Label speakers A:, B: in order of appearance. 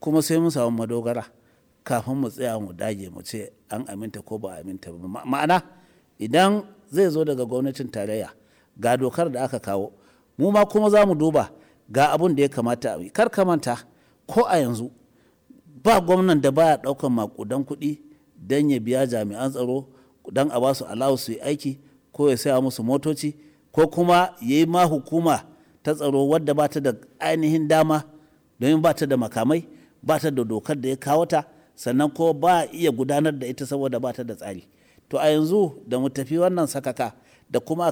A: Kuma sai mun samu madogara kafin mu tsaya mu dage mu ce an aminta ko ba a aminta ba. Ma'ana idan zai zo daga gwamnatin tarayya, ga dokar da aka kawo, mu ma kuma za mu duba ga abun da ya kamata a yi. Kar ka manta, ko a yanzu ba gwamnan da baya ɗaukan maƙudan kuɗi don ya biya jami'an tsaro, don a ba su allowance su yi aiki, ko ya saya musu motoci, ko kuma ya yi ma hukuma ta tsaro wadda ba ta da ainihin dama, domin ba ta da makamai, ba ta da dokar da ya kawo ta, sannan ko ba a iya gudanar da ita saboda ba ta da tsari. To a yanzu da mu tafi wannan sakaka da kuma